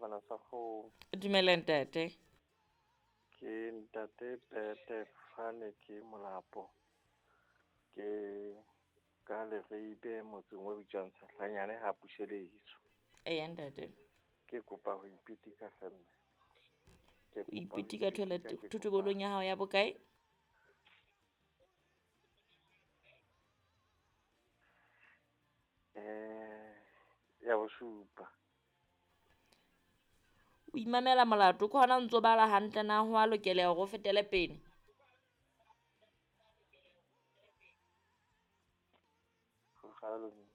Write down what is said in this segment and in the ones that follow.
Sehwana sa kgomo. Dumela ntate. Ke ntate Pete Fane ke Molapo. Ke ka Leribe motseng o bitswang Tshahlanyane ha Puseletso. Eya ntate. Ke kopa ho ipitika hle mme. Ke O kopa ho ipitika ipitika, ke kopa thotobolong ya hao ya bokae? Ya bosupa. O imamela molato ke hona o ntso bala hantle na ho a lokeleha hore o fetele pele? Ho jwalo mme.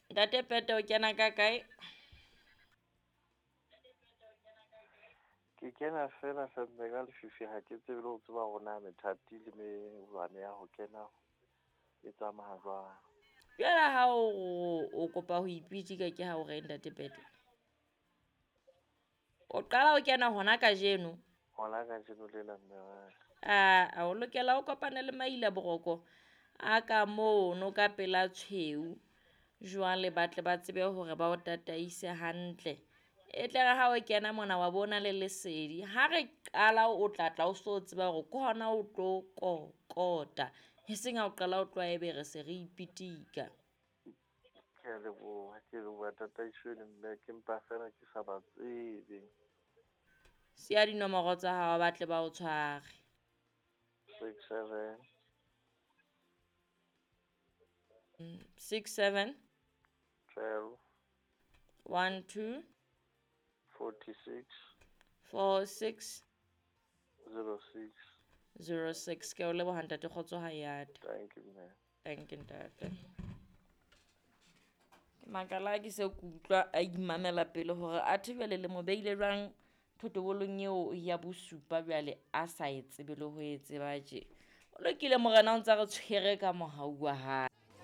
Ntate Pete o kena ka kae? Ke kena fela hle mme ka lefifi, ha ke tsebe le ho tseba hore na methati le melawana ya ho kena e tsamaya jwang. Jwale ha o o kopa ho ipitika ke ha o reng ntate Pete? O qala o kena hona kajeno? Hona kajeno lena mme wa ka. Aa, o lokela o kopane le Maila Boroko a ka mono ka pela tshweu. Jwale ba tle ba tsebe hore ba o tataise hantle. E tle re ha o kena mona wa bona le lesedi. Ha re qala o tla tla o so tseba hore ke hona o tlo kokota. Eseng ha o qala o tloha ebe re se re ipitika. Ke a leboha, ke leboha tataiso eno mme, ke mpa fela ke sa ba tsebe. Siya dinomoro tsa hao ba tle ba o tshware. 6 7 6 7 12 12 46 46 06. 06. Ke a o leboha ntate, kgotso ha e ate. Thank you mme. Thank you ntate. Ke makala ha ke se ke utlwa a imamela pele hore athe jwale le mo beile jwang thotobolong eo ya bosupa jwale a sa e tsebe le ho e tseba tje. O lokile morena o ntsa re tshwere ka mohau wa hae.